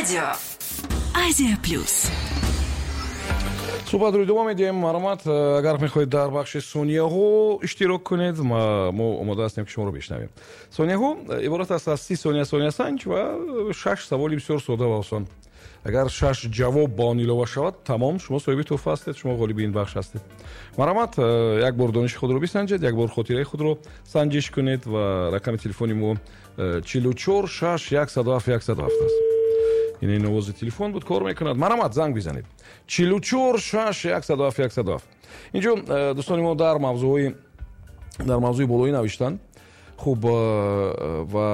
Радио Азия Плюс. Суҳбатро идома медиҳем. Марҳамат, агар мехоҳед дар бахши сонияҳо иштирок кунед, мо омода ҳастем, ки шуморо бишнавем. Сонияҳо иборат аст аз 30 сония сониясанҷ ва шаш саволи бисёр сода ва осон. Агар шаш ҷавоб ба он илова шавад, тамом, шумо соҳиби тӯҳфа ҳастед, шумо ғолиби ин бахш ҳастед. Марҳамат, як бор дониши худро бисанҷед, як бор хотираи худро санҷиш кунед ва рақами телефони мо 44 6 107 107 аст. Ин овози телефон буд, кор мекунад. Марҳамат, занг бизанед: 44 6 107 107. Инҷо дӯстони мо дар мавзӯи болоӣ навиштанд. Хуб, ва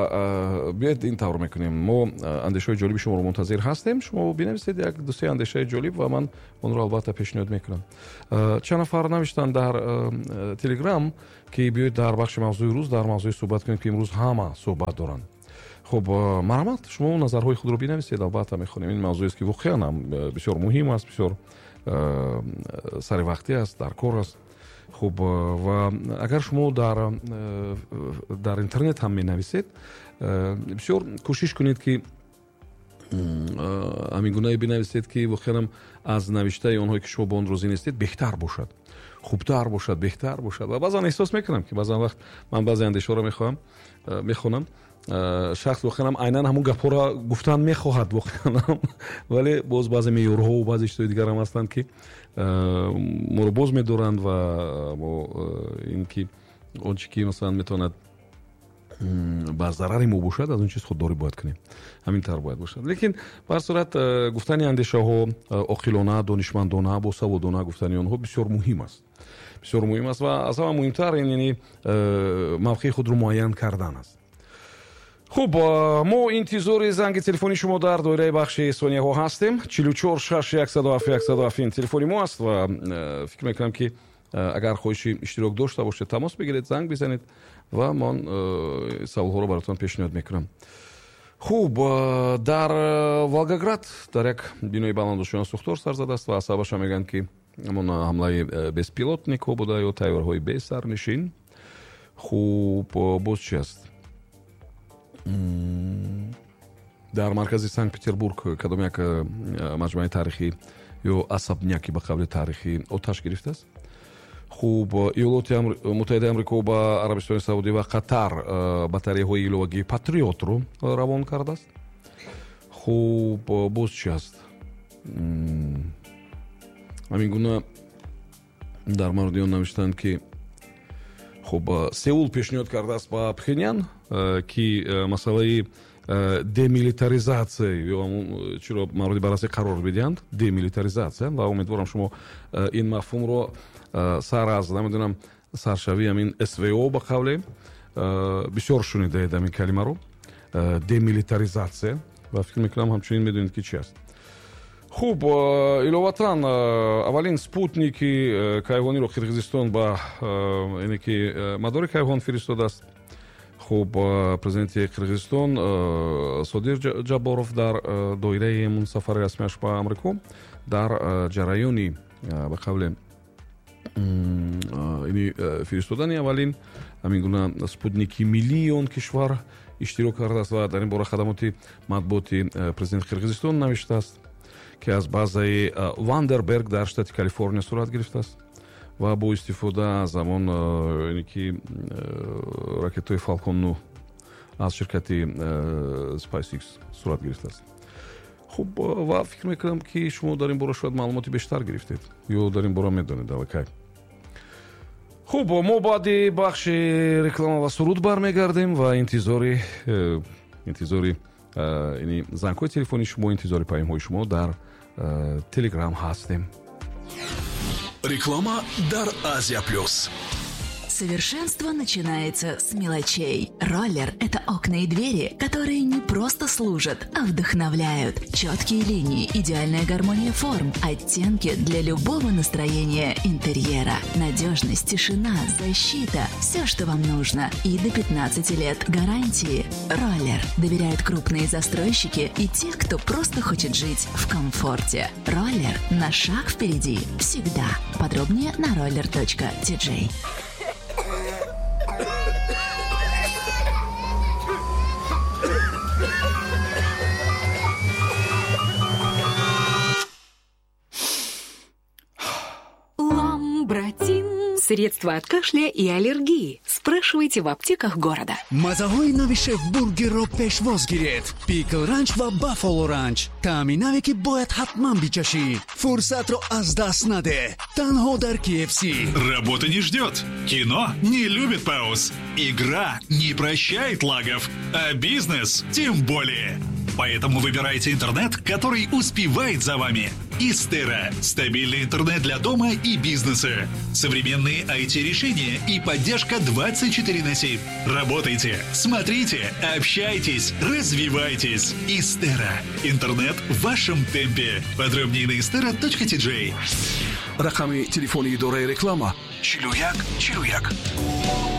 биёед, ин тавр мекунем: мо андешаҳои ҷолиби шуморо мунтазир ҳастем. Шумо бинависед як дусе андешаи ҷолиб ва ман онро албатта пешниҳод мекунам. Чанд нафар навиштанд дар Телеграм, ки биёед, дар бахши мавзӯи рӯз дар мавзӯи суҳбат кунем, ки имрӯз ҳама суҳбат доранд. Хуб, марҳамат, шумо назарҳои худро бинависед, албатта мехонем. Ин мавзӯест, ки воқеан ҳам бисёр муҳим аст, бисёр саривақтӣ аст, дар кор аст. Хуб, ва агар шумо дар интернет ҳам менависед, бисёр кӯшиш кунед, ки ҳамин гунае бинависед, ки воқеан аз навиштаи онҳое, ки шумо ба он розӣ нестед, беҳтар бошад, хубтар бошад, беҳтар бошад. Ва баъзан эҳсос мекунам, ки баъзан вақт ман баъзе андешаҳоро мехоҳам мехонам, шахс воқеан айнан ҳамун гапҳоро гуфтан мехоҳад воқеан, вале боз баъзе меъёрҳову баъзе чизҳои дигар ҳам ҳастанд, ки моро боз медоранд ва мо ин ки он чи ки масалан метавонад ба зарари мо бошад, аз он чиз худдорӣ бояд кунем. Ҳамин тавр бояд бошад. Лекин ба ҳар сурат гуфтани андешаҳо оқилона, донишмандона, босаводона гуфтани онҳо бисёр муҳим аст, бисёр муҳим аст. Ва аз ҳама муҳимтар ин яъне мавқеи худро муайян кардан аст. Хуб, мо интизори занги телефони шумо дар доираи бахши сонияҳо ҳастем. 44 6 107 107 ин телефони мо аст ва фикр мекунам, ки агар хоҳиши иштирок дошта бошед, тамос бигиред, занг бизанед ва ман саволҳоро баротон пешниҳод мекунам. Хуб, дар Волгоград дар як бинои баландошёна сӯхтор сар задааст ва сабабаша мегӯянд, ки ҳамон ҳамлаи беспилотникҳо буда ё тайёраҳои бесарнишин. Хуб, боз чи аст? Дар маркази Санкт Петербург кадом як маҷмӯаи таърихӣ ё особняки ба қавли таърихӣ оташ гирифтааст. Хуб, Иёлоти Муттаҳидаи Амрико ба Арабистони Саудӣ ва Қатар батареяҳои иловагии Патриотро равон кардааст. Хуб, боз чи аст? Ҳамин гуна дар мавриди он навиштанд, ки хуб, Сеул пешниҳод кардааст ба Пхенян, ки масъалаи демилитаризатсия ё чиро мавриди баррасӣ қарор бидиҳанд, демилитаризатсия. Ва умедворам, шумо ин мафҳумро сар аз, намедонам, саршавии ҳамин СВО, ба қавле, бисёр шунидаед ҳамин калимаро, демилитаризатсия, ва фикр мекунам, ҳамчунин медонед, ки чи аст. Хуб, иловатан аввалин спутники кайҳониро Қирғизистон ба ине ки мадори кайҳон фиристодааст. Хуб, президенти Қирғизистон Содир Ҷабборов дар доираи ҳамун сафари расмиаш ба Амрико дар ҷараёни, ба қавле, ини фиристодани аввалин ҳамин гуна спутники миллии он кишвар иштирок кардааст. Ва дар ин бора хадамоти матбуоти президенти Қирғизистон навиштааст, ки аз базаи Вандерберг дар штати Калифорния сурат гирифтааст ва бо истифода аз ҳамон ки ракетаҳои Фалкон 9 аз ширкати SpaceX сурат гирифтааст. Хуб, ва фикр мекунам, ки шумо дар ин бора шояд маълумоти бештар гирифтед ё дар ин бора медонед аллакай. Хуб, мо баъди бахши реклама ва суруд бармегардем ва интизори ини зангҳои телефони шумо, интизори паёмҳои шумо дар Телеграм ҳастем. Реклама дар Азия Плюс. Совершенство начинается с мелочей. Роллер – это окна и двери, которые не просто служат, а вдохновляют. Четкие линии, идеальная гармония форм, оттенки для любого настроения интерьера. Надежность, тишина, защита – все, что вам нужно. И до 15 лет гарантии. Роллер. Доверяют крупные застройщики и те, кто просто хочет жить в комфорте. Роллер на шаг впереди. Всегда. Подробнее на roller.tj. Средства от кашля и аллергии. Спрашивайте в аптеках города. Мазаҳои нави Шеф Бургерро пешвоз гиред: Пикл Ранч ва Баффало Ранч, таъми наве, ки бояд ҳатман бичашӣ. Фурсатро аз даст наде, танҳо дар KFC. Работа не ждет. Кино не любит пауз. Игра не прощает лагов. А бизнес тем более. Поэтому выбирайте интернет, который успевает за вами. Истера – стабильный интернет для дома и бизнеса. Современные IT-решения и поддержка 24 на 7. Работайте, смотрите, общайтесь, развивайтесь. Истера – интернет в вашем темпе. Подробнее на istera.tj. Рақами телефони идораи реклама: 41 41.